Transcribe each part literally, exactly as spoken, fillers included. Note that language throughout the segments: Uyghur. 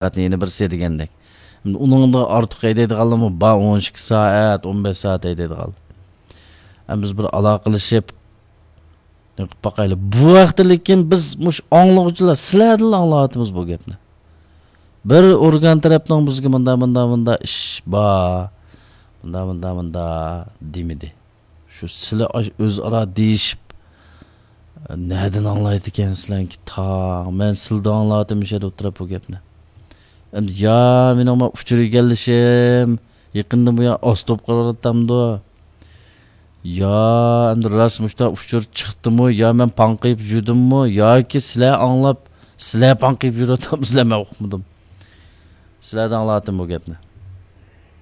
سائەتنى يەنە بىرسى دېگەندەك. ئۇنىڭدا ئارتۇق ھەيدەيدىغانلارمۇ بار، ئون ئىككى سائەت، ئون بەش سائەت ھەيدەيدىغان. ئەمما بىز بىر ئالاقىلىشىپ، قىلىپ باقايلى. بۇ ھەقتە لېكىن بىز مۇشۇ ئاڭلىغۇچىلار، سىلەردىنلا ئاڭلاۋاتىمىز بۇ گەپنى. بىر ئورگان تەرەپنىڭ بىزگە مۇنداق، مۇنداق، مۇنداق ئىش بار، مۇنداق، مۇنداق، مۇنداق دېمىدى. شۇ سىلە ئاش-، ئۆزئارا دېيىشىپ، نەدىن ئاڭلايدىكەنسىلەركى تاڭ؟ مەن سىلىدىن ئاڭلاۋاتىمەن شۇ يەردە ئولتۇرۇپ بۇ گەپنى. ئەمدى يا مېنىڭ ما ئۇچۇر ئىگىلىشىم يېقىندىن بۇيان ئاز توپ قىلىۋاتامدۇ؟ يا ئەمدى راست مۇشۇنداق ئۇچۇر چىقتىمۇ؟ يا مەن پاڭقىيىپ يۈردۈممۇ؟ ياكى سىلەر ئاڭلاپ، سىلەر پاڭقىيىپ يۈرۈۋاتامسىلەر، مەن ئۇقمىدىم. سىلەردىن ئاڭلاۋاتىمەن بۇ گەپنى.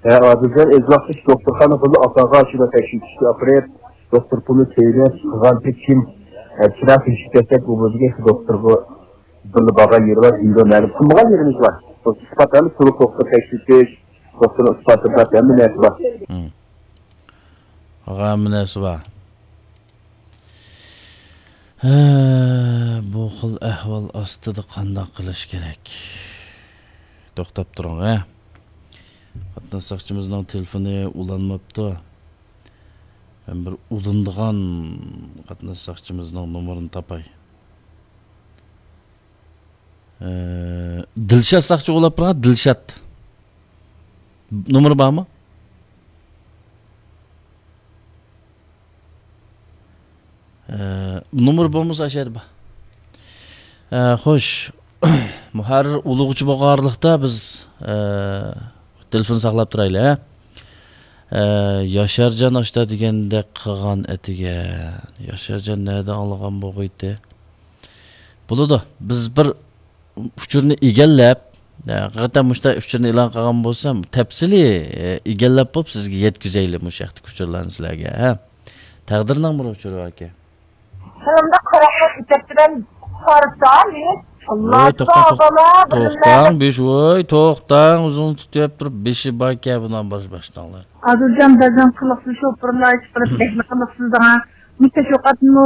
ھە، ئادىلجان، ئۆز ۋاقتىدا شۇ دوختۇرخانا بىللە ئاپاغا شۇنداق تەكشۈرتۈشكە ئاپىرىپ، دوختۇر پۇلى تۆلەپ قىلغانتى كىم؟ ئە، چىراغ تېگىشىپ كەتسەك، ئۇ بولىدىكەن شۇ دوختۇرغا بىللە بارغان يېرى بار، دېيىدۇ، مەلۇم قىلمىغان يېرىمىز بار. بۇ ئىسپات ھەممە تولۇق دوختۇر تەكشۈرتۈش، دوختۇرنىڭ ئىسپاتى بار، ھەممە نەرسە بار. ھەممە نەرسە بار. ھە، بۇ خىل ئەھۋال ئاستىدا قانداق قىلىش كېرەك؟ توختاپ تۇرۇڭ، ھە. قاتناش ساقچىمىزنىڭ تېلېفونى ئۇلانماپتۇ. مەن بىر ئۇلىنىدىغان قاتناش ساقچىمىزنىڭ نومۇرىنى تاپاي. ئە، دىلشات ساقچى ئۇلاپ بېرىڭ، دىلشات. نومۇرى بارمۇ؟ ئە، نومۇرى بولمىسا ئاشۇ يەردە بار. ئە، خوش، مۇھەررىر ئۇلىغۇچى بولغانلىقتا بىز، ئە، تېلېفون ساقلاپ تۇرايلى، ھە؟ ئە، ياشارجان ئاشتا دېگەندەك قىلغان ئەتىگەن. ياشارجان نەدە ئاڭلىغان بولغىيتى؟ بولىدۇ. بىز بىر ئۇچۇرنى ئىگىلەپ، ھەقىقەتەن مۇشۇنداق ئۇچۇرنى ئېلان قىلغان بولسام، تەپسىلىي، ئە، ئىگىلەپ بولۇپ سىزگە يەتكۈزەيلى مۇشۇ ھەقتىكى ئۇچۇرلارنى سىلەرگە، ھە؟ تەقدىرنىڭ بىر ئۇچۇرى باركەن. قولۇمدا قارا خەت ئىكەن بىلەن قارىسام، مېنى ۋوي، توختاڭ، توختاڭ، بىش، ۋوي، توختاڭ، ئۆزىڭىزنى تۇتۇپ تۇرۇپ، بېشى باركەن بۇنىڭ باش-، باشلىنىڭلار. ئادىلجان، بەزەن قىلىقسىز شوپۇرلار ئىش قىلىپ، بەكلا قىلىقسىز دەڭ. مۇشۇ تەشۋىقاتنىمۇ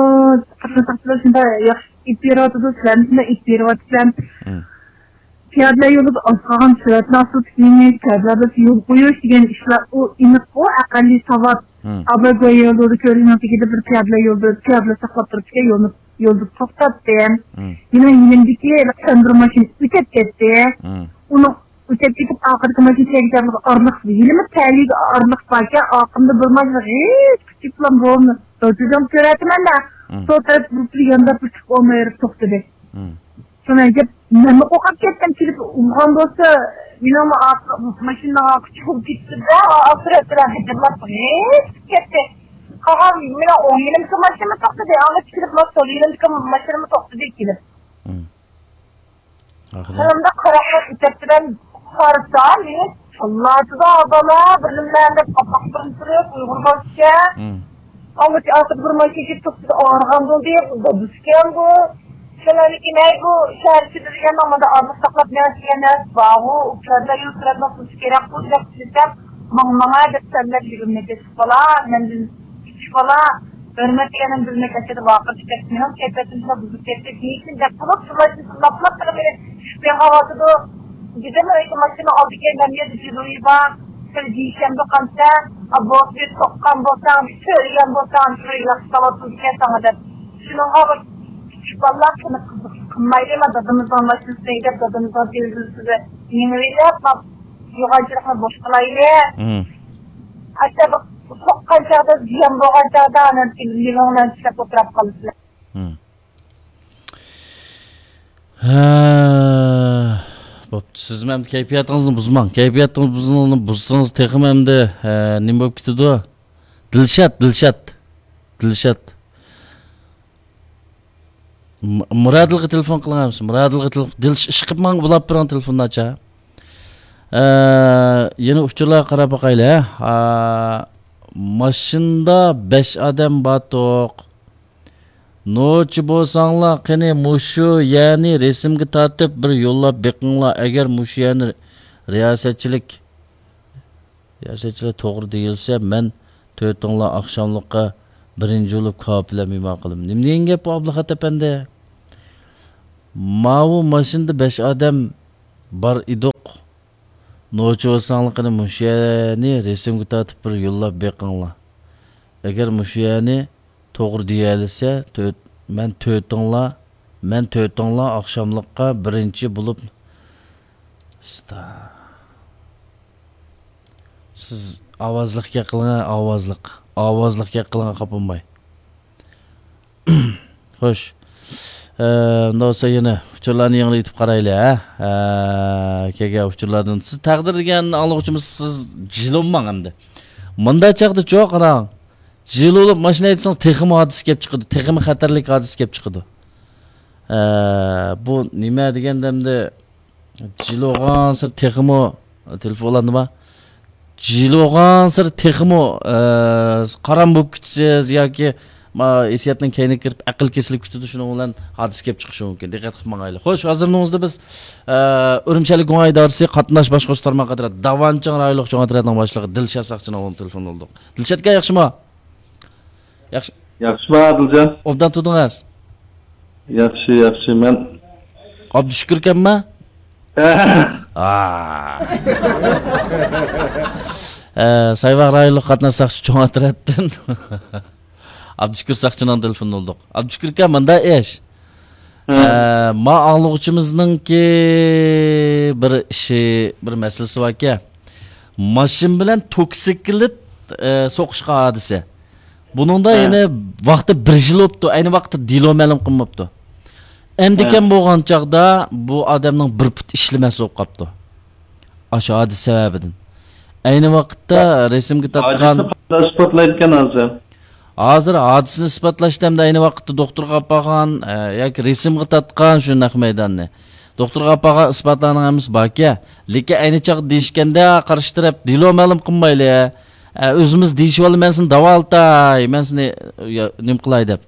قاتناش ساقچىلار شۇنداق ياخشى ئېلىپ بېرىۋاتىدۇ، سىلەرنى شۇنداق ئېلىپ بېرىۋاتىسەن. مم. پىيادىلەر يولىدا ئاز قالغان سۈرئەتنى ئاستىلىتىپ يېڭىش، پىيادىلەر يولىدا يول قويۇش دېگەن ئىشلار، ئۇ ئېنىق، ئۇ ئەقەللىي ساۋات. مم. ئاباي بويى يولىدا كۆلىنىڭ تېگىدە بىر پىيادىلەر يولىدا، پىيادىلەر ساقلاپ تۇرۇپتىكەن، يولنى، يولدا توختاتتىم. مم. مېنىڭ يېنىمدىكى سەندۇر ماشىنا ئۆتۈپ كەتتى. مم. ئۇنىڭ ئۆتۈپ كېتىپ، ئارقىدىكى ماشىنا كەلگۈچە ئارىلىق، ھېلىمۇ تەلىيىگە ئارىلىق باركەن، ئارقامدا بىر ماشىنا غىچ كىچىك بىلەن بوۋامنى دالچىدىڭ كۆرەتىمەن-دە، مم. سول تەرەپ بۇرۇلۇپ يانداپ بىر چىقىپ ئالماي بېرىپ توختىدى. مم. شۇنىڭ گەپ، مەنمۇ قورقۇپ كەتتىم، كېلىپ ئۇرغان بولسا، مېنىڭمۇ ئارقا، ماشىنىنىڭ ئارقا چىقىپ كېتىپتۇ-دە، ئاسىرەتلەر غىجىرلاپ غىچ كەتتى. قالغان مېنىڭ ئوڭ يېنىمدىكى ماشىنىمۇ توختىدى، ئاڭغىچە كېلىپ سول يېنىمدىكى ماشىنىمۇ توختىدى كېلىپ. مم. ئاخىرى. قولۇمدا قارا خەت ئىكەن بىلەن قارىسام، مېنى چاللاتىدۇ بالا، بىر نېمە دەپ قاپاق بىلەن تۇرۇپ، ئۇيغۇر بالىسىكەن. مم. ئاڭغىچە ئارقىدا بىر ماشىنا كېلىپ توختىدى، ئاغرىغان بولدى، دادىسىكەن بۇ. شۇنىڭدىن كېيىن، ھەي، بۇ شەھەر ئىچىدە دېگەن مانا ئارىلىق ساقلاپ مېڭىش دېگەن نەرسە بارغۇ، ئۇ كەرلەر يول سۈرەتنىڭ قىلىشى كېرەك بۇ، دەپ كېلىپ، ماڭ، ماڭا دەپ سەنلەپ يۈرگىنىمنى كەچۈك بالا، مەندىن كىچىك بالا، ھۆرمەت دېگەننىڭ بىلمەك ئەسلىدە ۋارقىراپ كەتتى. مېنىڭ كەيپىياتىم شۇنداق بۇزۇلۇپ كەتتى. دېيىشىم دەپ قىلىپ، شۇ ماشىنا لىپلاپ قىلىپ مېنى چۈشۈپ يېڭىۋاتىدۇ. دېدىم، ئۆيدە ماشىنا ئالدى كەينىدە يەردە جىلويى بار. سەل دېيىشەمدۇ قانچە؟ بوسبىت سوققان بولساڭ، چۆرىگەن بولساڭ، شۇ ياخشى تاۋاتىدىكەن ساڭا دەپ. شۇنىڭغا بىر كىچىك بالىلار قېنى قىزىق قىلمايلى، مانا دادىمىزنىڭ ماشىنىسى دەپ دادىمىزنىڭ دېرىزىسىدە يېڭىۋېلىپ، يوغانچىلىقنى بوش قىلايلى. مم. ئاشۇ سوققان چاغدا، زىيان بولغان چاغدا، ئانان كېلىپ مېنىڭ بىلەن چىشلەپ ئولتۇراپ قالىسىلەر. مم. ھە، بوپتۇ. سىزمۇ ئەمدى كەيپىياتىڭىزنى بۇزماڭ. كەيپىياتىڭىزنى بۇزسىڭىز تېخىمۇ ئەمدى، ھە، نېمە بولۇپ كېتىدۇ؟ دىلشات، دىلشات. دىلشات. م-، مۇرادىلغا تېلېفون قىلىڭ ئەمىسە. مۇرادىلغا تېلېفون. دىلش-، ئىشقىلىپ ماڭا ئۇلاپ بېرىڭ تېلېفوننى ئاچا. ئە، يەنە ئۇچۇرلارغا قاراپ باقايلى، ھە. ئا، ماشىنىدا بەش ئادەم بارتۇق. نوچى بولساڭلار، قېنى مۇشۇ يەرنى رەسىمگە تارتىپ بىر يوللاپ بېقىڭلار. ئەگەر مۇشۇ يەرنى رىياسەتچىلىك، رىياسەتچىلىك توغرا دېيىلسە، مەن تۆتۈڭلار ئاخشاملىققا بىرىنچى بولۇپ كاۋاپ بىلەن مېھمان قىلىمەن. نېمە دېگەن گەپ بۇ، ئابلىخات ئەپەندى؟ ماۋۇ ماشىنىدا بەش ئادەم بار ئىدۇق. نوچى بولساڭلار قېنى مۇشۇ يەرنى رەسىمگە تارتىپ بىر يوللاپ بېقىڭلار. ئەگەر مۇشۇ يەرنى توغرا دېيەلىسە، تۆت، مەن تۆتۈڭلار، مەن تۆتۈڭلار ئاخشاملىققا بىرىنچى بولۇپ. سىز ئاۋازلىق گەپ قىلىڭ، ئاۋازلىق. ئاۋازلىق گەپ قىلىڭ، خاپا بولماي. خوش. ئە، ئۇنداق بولسا يەنە ئۇچۇرلارنى يېڭىلىتىپ قارايلى، ھە؟ ئە، كەلگەن ئۇچۇرلاردىن. سىز تەقدىر دېگەن ئاڭلىغۇچىمىز، سىز جىلىنماڭ ئەمدى. مۇنداق چاغدا چوق قاراڭ. جىلىنىپ ماشىنا ھەيدىسىڭىز تېخىمۇ ھادىسە كېلىپ چىقىدۇ. تېخىمۇ خەتەرلىك ھادىسە كېلىپ چىقىدۇ. ئە، بۇ نېمە دېگەندە ئەمدى جىلىنغانسېرى تېخىمۇ، تېلېفون ئۇلاندىما؟ جىلىنغانسېرى تېخىمۇ، ئە، قارام بولۇپ كېتىسىز ياكى ما، ھېسسىياتنىڭ كەينىگە كىرىپ ئەقىل كېسىلىپ كېتىدۇ، شۇنىڭ بىلەن ھادىسە كېلىپ چىقىشى مۇمكىن. دىققەت قىلىپ ماڭايلى. خوش، ھازىر مۇنىڭىزدا بىز، ئە، ئۈرۈمچىلىك گۇڭئەي ئىدارىسى قاتناش باشقۇرۇش تارماقى ئەترەت داۋانچىڭ رايونلۇق چوڭ ئەترەتنىڭ باشلىقى دىلشات ساقچىنىڭ ئورنىدا تېلېفون بولدۇق. دىلشات ئاكا، ياخشىمۇ؟ ياخشى. ياخشىمۇ، ئادىلجان؟ ئوبدان تۇردىڭىز؟ ياخشى، ياخشى، مەن. ئابدۇشۈكۈر ئىكەنما؟ ئا. ئە، سايباغ رايونلۇق قاتناش ساقچى چوڭ ئەترەتتىن. ئابدۇشۈكۈر ساقچىنىڭ تېلېفونىنى ئۇلدۇق. ئابدۇشۈكۈر ئاكا، مۇنداق ئىش. ھە. ئە، ما ئاڭلىغۇچىمىزنىڭكى بىر ئىشى، بىر مەسىلىسى باركەن. ماشىنا بىلەن توكسىكلىت، ئە، سوقۇشقان ھادىسە. بۇنىڭدا ھە. يەنە ۋاقتى بىر يىل بوپتۇ. ئەينى ۋاقىتتا دېلو مەلۇم قىلماپتۇ. ئەمدىكەن ھە. بولغان چاغدا بۇ ئادەمنىڭ بىر پۇت ئىشلىمەس بولۇپ قاپتۇ. ئاشۇ ھادىسە سەۋەبىدىن. ئەينى ۋاقىتتا ھە. رەسىمگە تارتقان ھادىسىنى قانداق ئىسپاتلايدىكەن ھازىر؟ ھازىر ھادىسىنى ئىسپاتلاشتا ئەمدى ئەينى ۋاقىتتا دوختۇرغا ئاپارغان، ئە، ياكى رەسىمگە تارتقان شۇ نەق مەيداننى. دوختۇرغا ئاپارغان ئىسپاتلارنىڭ ھەممىسى باركەن. لېكىن ئەينى چاغدا دېيىشكەندە قارشى تەرەپ دېلو مەلۇم قىلمايلى. ئە، ئۆزىمىز دېيىشىۋالدى، مەن سېنى داۋالىتاي، مەن سېنى، يا، نېمە قىلاي دەپ.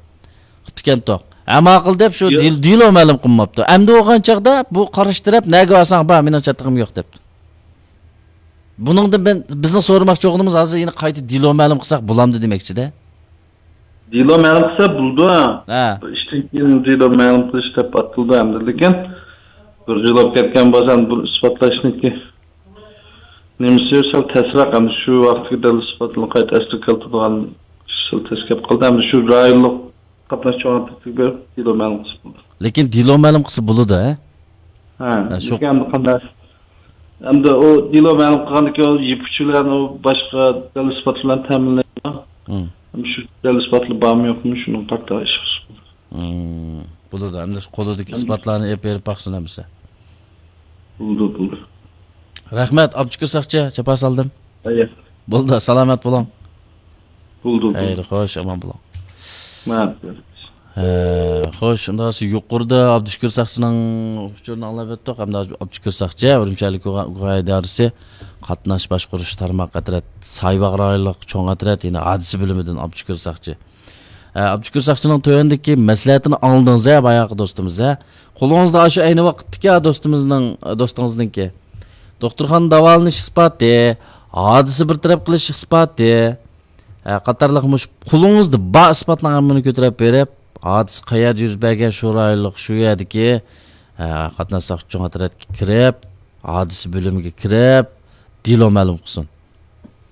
قىپتىكەنتۇق. ھە، ماقۇل دەپ شۇ ياق. دېل-، دېلو مەلۇم قىلماپتۇ. ئەمدى بولغان چاغدا بۇ قارشى تەرەپ نەگە بارساڭ بار، مېنىڭ چاتىقىم يوق دەپتۇ. بۇنىڭدىن بىز، بىزنىڭ سورىماقچى بولغىنىمىز ھازىر يەنە قايتا دېلو مەلۇم قىلساق بولامدۇ دېمەكچىدە. دېلو مەلۇم قىلسا بولىدۇ. ھە. بىر ئىشتىن كېيىن دېلو مەلۇم قىلىش دەپ ئاتىلىدۇ ئەمدى. لېكىن بىر يىل بولۇپ كەتكەن بولسا، بۇ ئىسپاتلاشنىڭكى نېمىسى سەل تەسرەك ئەمدى. شۇ ۋاقىتتىكى دەل ئىسپاتنى قايتا ئەسلىگە كەلتۈرىدىغان ئىش سەل تەس كەپ قالدى. ئەمدى شۇ رايونلۇق قاتناش چوڭ ئەترىتىگە بېرىپ دېلو مەلۇم قىلسا بولىدۇ. لېكىن دېلو مەلۇم قىلسا بولىدۇ، ھە؟ ھە، ھە، شۇ لېكىن ئەمدى قانداق؟ ئەمدى ئۇ دېلو مەلۇم قىلغاندىن كېيىن ئۇ يىپ ئۇچى بىلەن ئۇ باشقا دەل ئىسپات بىلەن تەمىنلەيدۇ. ھىم. ئەمدى شۇ دەل ئىسپاتلار بارمۇ يوقمۇ، شۇنىڭغا قارىتا ئىش قىلسا بولىدۇ. ھىم، بولىدۇ. ئەمدى قولىدىكى ئىسپاتلارنى ئېلىپ بېرىپ باقسۇن ئەمىسە. بولىدۇ، بولىدۇ. رەھمەت، ئابدۇشۈكۈر ساقچى، جاپا سالدىم. ئەيە. بولدى، سالامەت بولۇڭ. بولدى، بولدى. خەير، خوش، ئامان بولۇڭ. مەن. ھە، خوش، ئۇنداق بولسا يۇقىرىدا ئابدۇشۈكۈر ساقچىنىڭ ئۇچۇرىنى ئاڭلاپ ئۆتتۇق. ئەمدى ئابدۇشۈكۈر ساقچى، ئۈرۈمچى ئەھلى گۇ-، گۇۋاھى ئىدارىسى قاتناش باشقۇرۇش تارماق ئەترەت سايباغ رايونلۇق چوڭ ئەترەت يەنە ھادىسە بۆلۈمىدىن ئابدۇشۈكۈر ساقچى. ھە، ئابدۇكىر ساقچىنىڭ تۆۋەندىكى مەسلىھەتىنى ئاڭلىدىڭىز ھە، باياقى دوستىمىز ھە. قولىڭىزدا ئاشۇ ئەينى ۋاقىتتىكى دوستىمىزنىڭ، دوستىڭىزنىڭكى دوختۇرخانىدا داۋالىنىش ئىسپاتى، ھادىسە بىر تەرەپ قىلىش ئىسپاتى، ھە، قاتارلىق مۇشۇ قولىڭىزدا بار ئىسپاتنىڭ ھەممىنى كۆتۈرۈپ بېرىپ، ھادىسە قەيەردە يۈز بەرگەن شۇ رايونلۇق، شۇ يەردىكى، ھە، قاتناش ساقچى چوڭ ئەترەتكە كىرىپ، ھادىسە بۆلۈمىگە كىرىپ، دېلو مەلۇم قىلسۇن.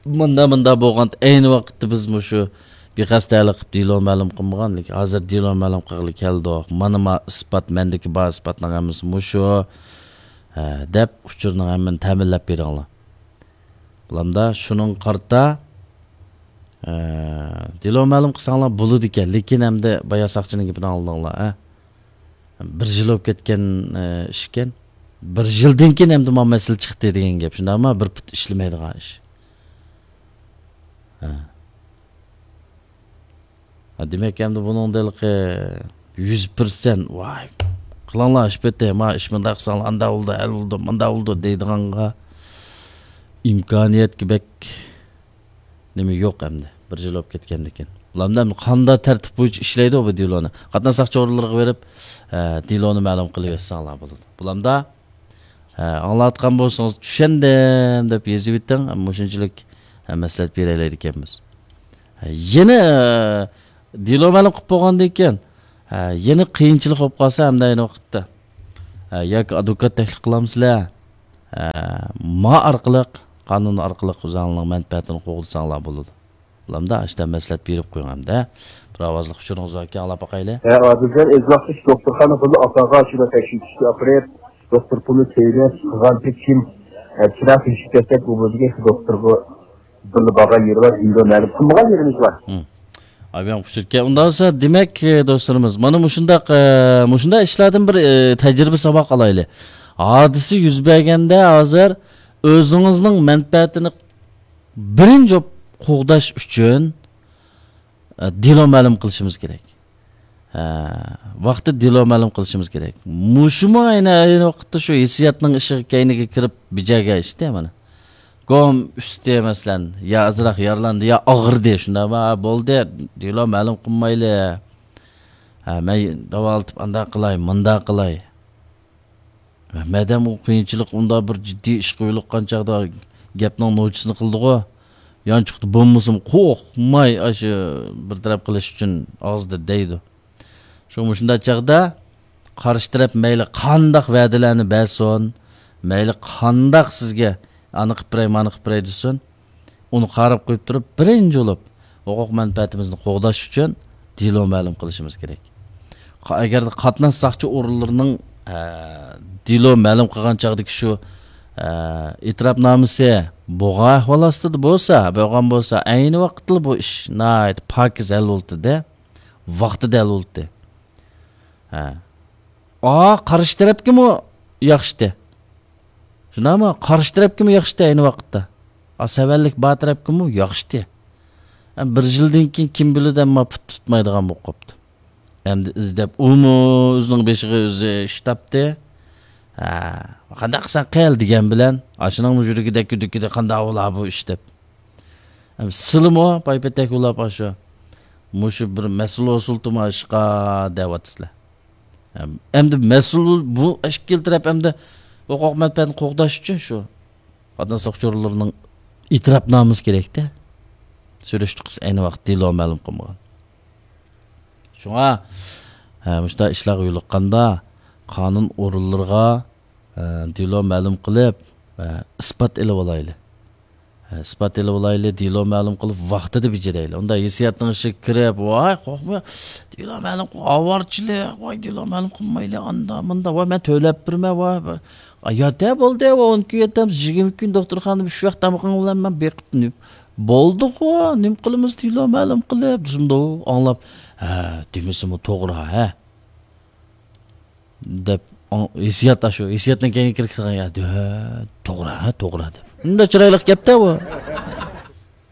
مۇندا، مۇندا بولغان ئەينى ۋاقىتتا بىز مۇشۇ بىخەستەلىك قىلىپ دېلو مەلۇم قىلمىغان، لېكىن ھازىر دېلو مەلۇم قىلغىلى كەلدۇق. مانا ما ئىسپات، مەندىكى بار ئىسپاتنىڭ ھەممىسى مۇشۇ، ھە، دەپ ئۇچۇرنىڭ ھەممىنى تەمىنلەپ بېرىڭلار. بولامدا شۇنىڭغا قارىتا، ھە، دېلو مەلۇم قىلساڭلار بولىدىكەن، لېكىن ئەمدى بايا ساقچىنىڭ گېپىنى ئاڭلىدىڭلار، ھە؟ بىر يىل بولۇپ كەتكەن، ئە، ئىشكەن. بىر يىلدىن كېيىن ئەمدى مانا مەسىلە چىقتى دېگەن گەپ. شۇنداقمۇ؟ بىر پۇت ئىشلىمەيدىغان ئىش. ھە. ھە، دېمەك، ئەمدى بۇنىڭدا ھېلىقى يۈز پىرسەنت، ۋاي، قىلىڭلار ئىش پېتى، ما ئىش مۇنداق قىلساڭلار، ئانداق بولىدۇ، ھەل بولىدۇ، مۇنداق بولىدۇ دەيدىغانغا ئىمكانىيەتكە بەك نېمە يوق ئەمدى، بىر يىل بولۇپ كەتكەندىكىن. بۇلار ئەمدى قانداق تەرتىپ بويىچە ئىشلەيدۇ بۇ دېلونى؟ قاتناش ساقچى ئورۇنلىرىغا بېرىپ، ئە، دېلونى مەلۇم قىلىۋەتسەڭلار بولىدۇ. بۇلاردا، ئە، ئاڭلاۋاتقان بولسىڭىز، چۈشەندىم دەپ يېزىۋېتىڭ، مۇشۇنچىلىك، ئە، مەسلىھەت بېرەلەيدىكەنمىز. ئە، يەنە، ئە، دېلو مەلۇم قىلىپ بولغاندىن كېيىن، ئە، يەنە قىيىنچىلىق بولۇپ قالسا، ئەمدى ئەينى ۋاقىتتا، ئە، ياكى ئادۋوكات تەكلىپ قىلامسىلەر؟ ئە، ما ئارقىلىق، قانۇن ئارقىلىق ئۆزۈڭلارنىڭ مەنپەئەتىنى قوغدىساڭلار بولىدۇ. بولامدا، ئاشتا مەسلىھەت بېرىپ قويۇڭ ئەمدى. بىر ئاۋازلىق ئۇچۇرىڭىز باركەن، ئاڭلاپ باقايلى. ھە، ئادىلجان، ئىزۋاقتىكى دوختۇرخانا پۇلى ئاپاغا شۇنى تەكشۈرتۈشكە ئاپىرىپ، دوختۇر پۇلى تۆلەش قىلغانچە كىم، ئە، چىراغ تېشىپ كەتسەك، ئۇ بولىدىكەن شۇ دوختۇرغا بىللە بارغان يېرى بار، ئىندىرا مەلۇم قىلمىغان يېرىمىز بار. ھىم. ئايبەڭ پۇشۇركە. ئۇنداق بولسا، دېمەك، ئە، دوستلىرىمىز، مانا مۇشۇنداق، ئە، مۇشۇنداق ئىشلاردىن بىر، ئە، تەجرىبە ساۋاق ئالايلى. ھادىسە يۈز بەرگەندە ھازىر ئۆزىڭىزنىڭ مەنپەئەتىنى بىرىنچى بولۇپ قوغداش ئۈچۈن، ئە، دېلو مەلۇم قىلىشىمىز كېرەك. ھە، ۋاقتىدا دېلو مەلۇم قىلىشىمىز كېرەك. مۇشۇمۇ ئەينى، ئەينى ۋاقىتتا شۇ ھېسسىياتنىڭ ئىشىغا، كەينىگە كىرىپ بېجەرگەن ئىشتە مانا. گوم ئۈستى، مەسىلەن، يا ئازراق يارىلاندى، يا ئاغرىدى، شۇنداقمۇ؟ ھە، بولدى، دېلو مەلۇم قىلمايلى. ھە، مەن داۋالىتىپ ئانداق قىلاي، مۇنداق قىلاي. مەدەم ئۇ قىيىنچىلىق ئۇنداق بىر جىددىي ئىشقا يولۇققان چاغدا گەپنىڭ نوچىسىنى قىلىدىغۇ. يانچۇقتا بولمىسىمۇ قورقماي ئاشۇ بىر تەرەپ قىلىش ئۈچۈن ئاغزىدا دەيدۇ. شۇڭا مۇشۇنداق چاغدا قارشى تەرەپ مەيلى قانداق ۋەدىلەرنى بەرسۇن، مەيلى قانداق سىزگە ئانى قىپ بېرەي، مانى قىپ بېرەي دېسۇن، ئۇنى قاراپ قويۇپ تۇرۇپ، بىرىنچى بولۇپ، ھوقۇق مەنپەئەتىمىزنى قوغداش ئۈچۈن دېلو مەلۇم قىلىشىمىز كېرەك. قا-، ئەگەردە قاتناش ساقچى ئورۇنلىرىنىڭ، ئە، دېلو مەلۇم قىلغان چاغدىكى شۇ، ئە، ئېتىراپنامىسى بولغان ئەھۋال ئاستىدا بولسا، بولغان بولسا، ئەينى ۋاقىتلا بۇ ئىش ناھايىتى پاكىز ھەل بولاتتى، ۋاقتىدا ھەل بولاتتى. ھە. ئا، قارشى تەرەپكىمۇ ياخشىتى. شۇنداقمۇ؟ قارشى تەرەپكىمۇ ياخشىتى ئەينى ۋاقىتتا. ئا، سەۋەنلىك بار تەرەپكىمۇ ياخشىتى. ھە، بىر يىلدىن كېيىن كىم بىلىدۇ، ئەمما پۇت تۇتمايدىغان بولۇپ قاپتۇ. ئەمدى ئىزدەپ، ئۇمۇ ئۆزىنىڭ بېشىغا ئۆزى ئىش تاپتى. ھە، قانداق قىلساڭ قىل دېگەن بىلەن، ئاشۇنىڭمۇ يۈرىكىدە، كۈدۈكىدە قانداق بولا بۇ ئىش دەپ. ئەم، سىلىمۇ پايپېتەك بولاپ ئاشۇ، مۇشۇ بىر مەسىلە ئۇسۇلتىما ئىشقا دەۋاتىسىلەر. ئەم، ئەمدى مەسئۇل بۇ ئىككىلا تەرەپ ئەمدى ھوقۇق مەنپەئەتنى قوغداش ئۈچۈن شۇ قاتناش ساقچىلىرىنىڭ ئېتىراپنامىسى كېرەكتە. سۈرۈشتە قىلسا ئەينى ۋاقىت دېلو مەلۇم قىلمىغان. شۇڭا، ھە، مۇشۇنداق ئىشلارغا يولۇققاندا قانۇن ئورۇنلىرىغا، ھە، دېلو مەلۇم قىلىپ، ھە، ئىسپات ئېلىۋالايلى. ھە، ئىسپات ئېلىۋالايلى، دېلو مەلۇم قىلىپ ۋاقتىدا بېجىرەيلى. ئۇنداق ھېسسىياتنىڭ ئىچىگە كىرىپ، ۋاي، قورقما، دېلو مەلۇم قىل، ئاۋارىچىلىق، ۋاي، دېلو مەلۇم قىلمايلى، ئاندا، مۇندا، ۋاي، مەن تۆلەپ بېرىمەن، ۋاي، ۋاي. ئا، ياتە بولدى، ۋاي، ئون كۈن ياتامسىز، يىگىرمە كۈن دوختۇرخانىدا شۇ ۋاقىت تامىقىڭ بىلەن مەن بېقىپ نېمە. بولدىغۇ، نېمە قىلىمىز، دېلو مەلۇم قىلىپ، دېسىمدۇ، ئاڭلاپ، ھە، دېمىسىمۇ توغرا، ھە. دەپ، ئاڭ-، ھېسسىيات ئاشۇ، ھېسسىياتنىڭ كەينىگە كىرىپ كېتىدىغان، يا، دە-، توغرا، ھە، توغرا دەپ. ئۇنداق چىرايلىق گەپتە بۇ.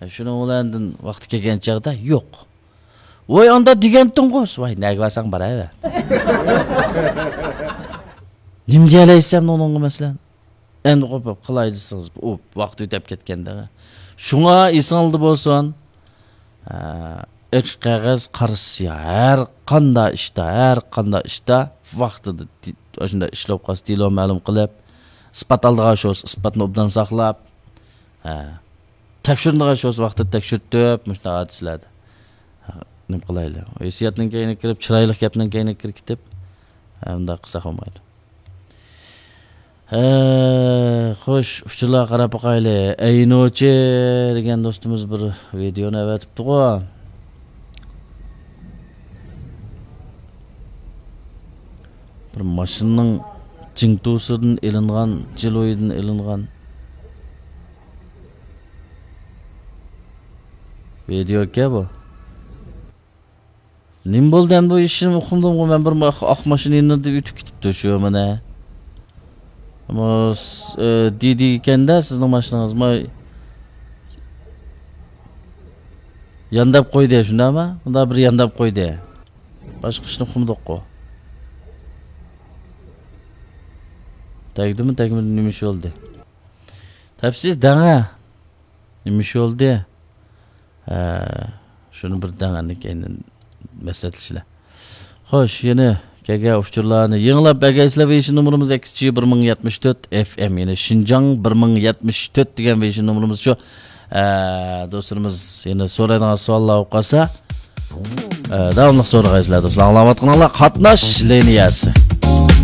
شۇنىڭ بىلەن ئاندىن ۋاقتى كەلگەن چاغدا، يوق. ۋاي، ئاندا دېگەنتىڭغۇ، ۋاي، نەگە بارساڭ باراۋەر. نېمە دېيەلەيسەن ئۇنىڭغا، مەسىلەن؟ ئەمدى قوپۇپ قىلاي دېسىڭىز، ئۇ ۋاقىت ئۆتەپ كەتكەندە. شۇڭا ئېسىڭلاردا بولسۇن، ئە، ئېق قەغەز، قارا سىياھ. ھەر قانداق ئىشتا، ھەر قانداق ئىشتا ۋاقتىدا دې-، ئاشۇنداق ئىشلەپ قالسا، دېلو مەلۇم قىلىپ، ئىسپات ئالىدىغان ئىش بولسا، ئىسپاتنى ئوبدان ساقلاپ، ھە، تەكشۈرىدىغان ئىش بولسا، ۋاقتىدا تەكشۈرتۈپ، مۇشۇنداق ھادىسىلەردە، ھە، نېمە قىلايلى؟ ھېسسىياتنىڭ كەينىگە كىرىپ، چىرايلىق گەپنىڭ كەينىگە كىرىپ كېتىپ، ھە، ئۇنداق قىلساق بولمايدۇ. ھە، خوش، ئۇچۇرلارغا قاراپ باقايلى. ئەينۇچى دېگەن دوستىمىز بىر ۋىدېونى ئەۋەتىپتىغۇ. بىر ماشىنىنىڭ جىڭتۇسىدىن ئېلىنغان، جىلۇيدىن ئېلىنغان ۋىدېو ئىكەن بۇ. نېمە بولدى ئەمدى بۇ ئىشنى ئۇقمىدىمغۇ مەن، بىر ما-، ئاق ماشىنا يېنىدا ئۆتۈپ كېتىپتۇ شۇ مانا. ئەمما س-، ئى، دېدى ئىكەندە سىزنىڭ ماشىنىڭىز ما-، يانداپ قويدى، شۇنداقمۇ؟ مۇنداق بىر يانداپ قويدى. باشقا ئىشنى ئۇقمىدۇققۇ. تەگدىمۇ، تەگمىدىمۇ، نېمە ئىش بولدى؟ تەپسىز دەڭە. نېمە ئىش بولدى؟ ھە، شۇنى بىر دەڭ ئەندىن كېيىن مەسلىھەتلىشىلە. خوش، يەنە كەلگەن ئۇچۇرلارنى يېڭىلاپ بەرگەيسىلەر. ۋېيشىن نومۇرىمىز ئەكس جى بىر مىڭ يەتمىش تۆت ئېف ئېم، يەنى شىنجاڭ بىر مىڭ يەتمىش تۆت دېگەن ۋېيشىن نومۇرىمىز شۇ. ئە، دوستلىرىمىز يەنە سورايدىغان سوئاللار بولۇپ قالسا، ئە، داۋاملىق سورىغايسىلەر دوستلار. ئاڭلاۋاتقىنىڭلار قاتناش لىنىيەسى.